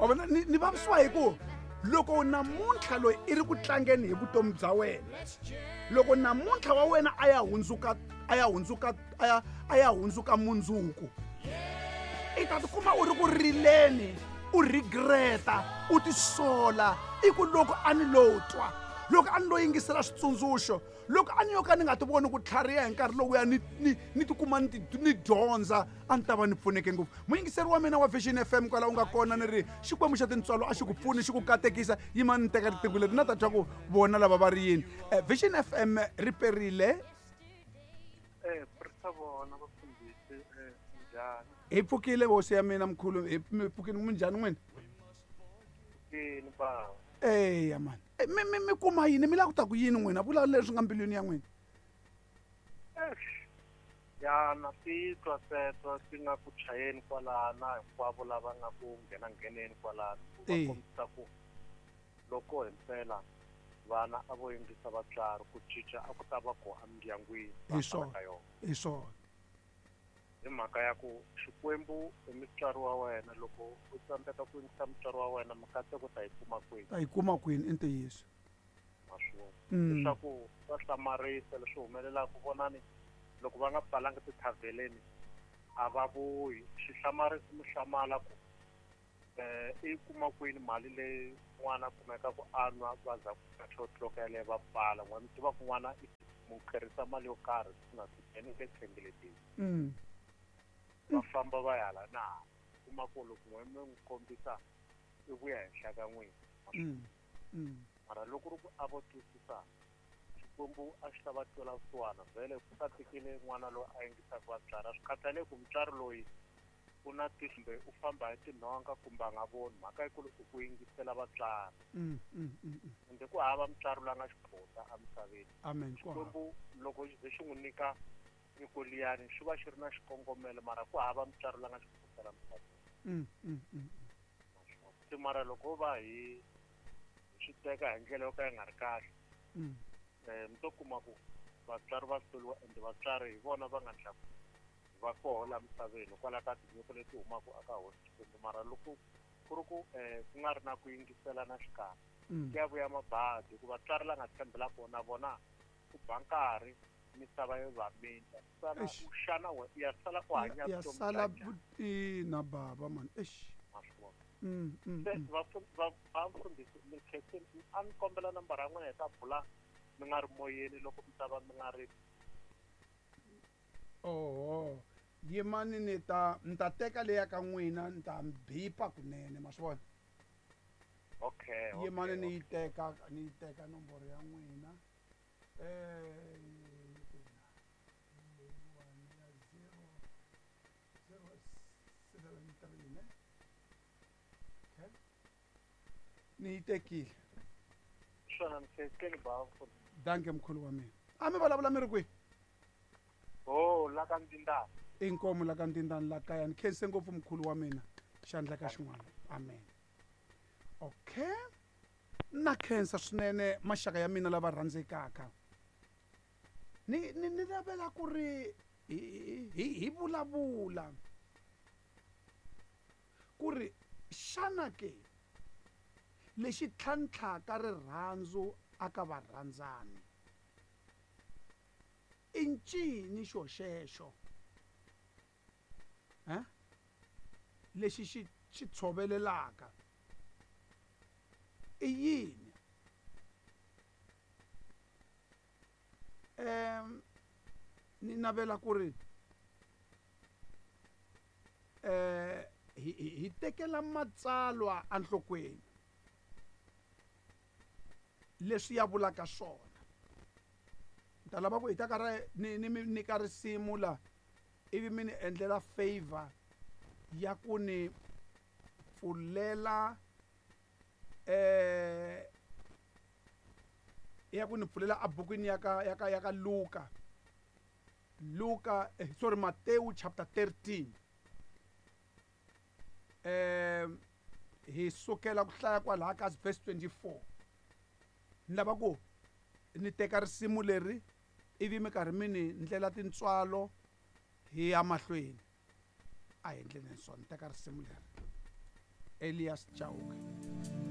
Wa vona ni vavisiwa hi ku loko namuntlha loyi i ri ku tlangeni hi vutomi bya wena, loko namuntlha wa wena a ya hundzuka a ya hundzuka a ya a ya hundzuka mundzuku, i ta tikuma u ri ku rileni, u regreta, u tisola, i ku loko a ni lo twa, loko a ni lo yingisela switsundzuxo, loko a ni yo ka ni nga ti voni ku tlhariha hi nkarhi lowuya ni tikuma ni dyondza, a ni ta va ni pfuneke ngopfu. Muyingiseri wa mina wa Vision FM kwala u nga kona, ni ri Xikwembu xa tintswalo a xi ku pfuni, xi ku katekisa. Yima ni teka riqingho leri na ta twa ku vona lava va ri yini. Vision FM ri perile. Hi pfukile hosi ya mina mkhulu, hi pfukile. Minjhani n'wina? Eya mani. Mi kuma yini, mi lava ku ta ku yini n'wina? Vula leswi nga mbilwini ya n'wina. Ya na titwa teto ti nga ku chayeni kwalana, hinkwavo lava nga ku nghena ngheneni kwalano, ku va kombisa ku loko himpela vana a vo yingisa vatswari, ku cinca a ku ta va ku emindyangwini va ka yona. Hi swona. Hi mhaka ya ku Xikwembu i mutswari wa wena, loko u tsandzeka ku yingisa mutswari wa wena, mikateko ta yi kuma kwini? Ta yi kuma kwini, i ntiyiso. Maswona. Leswaku swa hlamarisa leswi humelelaka, vonani loko va nga pfalanga tithavheleni a va vuyi. Xi hlamarisa mi hlamala ku i kuma kwini mali leyi n'wana a kumeka ku a nwa, va za ku 2 o'clock yaleyo va pfala. N'wana mi tiva ku n'wana i mu tlherisa mali yo karhi siku na siku, ene le tshembelekile. Va famba va ya hala na hala, kuma ku loko n'we mi n'wi kombisa i vuya henhla ka n'wina. Mara loko ri ku a vo twisisa, Xikwembu a xi ta va twela vusiwana. Vhele ku katekile n'wana loyi a yingisaka vatswari, a swi khathaleki ku mutswari loyi u na tihlo kumbe u famba hi tinhonga kumbe a nga voni, mhaka yikulu i ku yingisela vatswari. Ende ku hava mutswari loyi a nga xiphota emisaveni. Amen. Xikwembu loko xi ze xi n'wi nyika nyiko liyani xi va xi ri na xikongomelo, mara ku hava mutswari loyi a nga xiphota la misaveni. Se mara loko va hi swi teka hi ndlela yo ka yi nga ri kahle, mi to kuma ku vatswari va hluriwa, ende vatswari hi vona va nga ndla ku va koho la misaveni hikwalaho ka tinyiko leti humaka eka hosi Xikwembu. Mara loko ku ri ku ku nga ri na ku yingisela na xikarhi, ku ya vuya mabadi, hikuva vatswari la nga tshembela kona vona ku ba nkarhi misava yo va minta. Sala u xana we u ya sala u hanya ya sala ina baba man. Eish. Se vafundhisi mi khensini, a ni kombela nambara ya n'wina hi ta bula mi nga ri moyeni loko mi ta va mi nga ri. Oho, yimani ni ta ni ta teka leya ka n'wina, ni ta bipa kunene, ma swi vona. Okay. Yimani ni yi teka, ni yi teka nomboro ya n'wina. Leyiwani ya 0073 ne. Okay. Ni yi tekile. Swona mi khensini ba. Danke mkhulu wa mina. A mi vulavula mi ri kwihi? Oh, la ka Ndindani. Inkomu la ka Ndindani la kaya. Ni khense ngopfu mkhulu wa mina. Xandla ka xin'wana. Amen. Okay. Na khensa swinene maxaka ya mina lava rhandzekaka. Ni lavela ku ri hi vulavula ku ri xana ke lexi tlhantlhaka rirhandzu aka varhandzani i ncini xo xexo? Lexi xi tshovelelaka i yini? Ni navela ku ri hi tekela matsalwa enhlokweni leswi ya vulaka swona. Ni ta lava ku hi ta ka ra ni mi nyika risimu la, ivi mi ni endlela favor ya ku ni pfulela ya ku ni pfulela ebukwini ya ka ya ka ya ka Luka. Luka, sorry, Matthew chapter 13. Hi sukela ku hlaya kwalaha ka verse 24. Ni lava ku ni teka risimu leri ivi mi karhi mi ni ndlela tintswalo hi ya mahlweni. A hi endleni swona, ni teka risimu leri. Elias Chauke.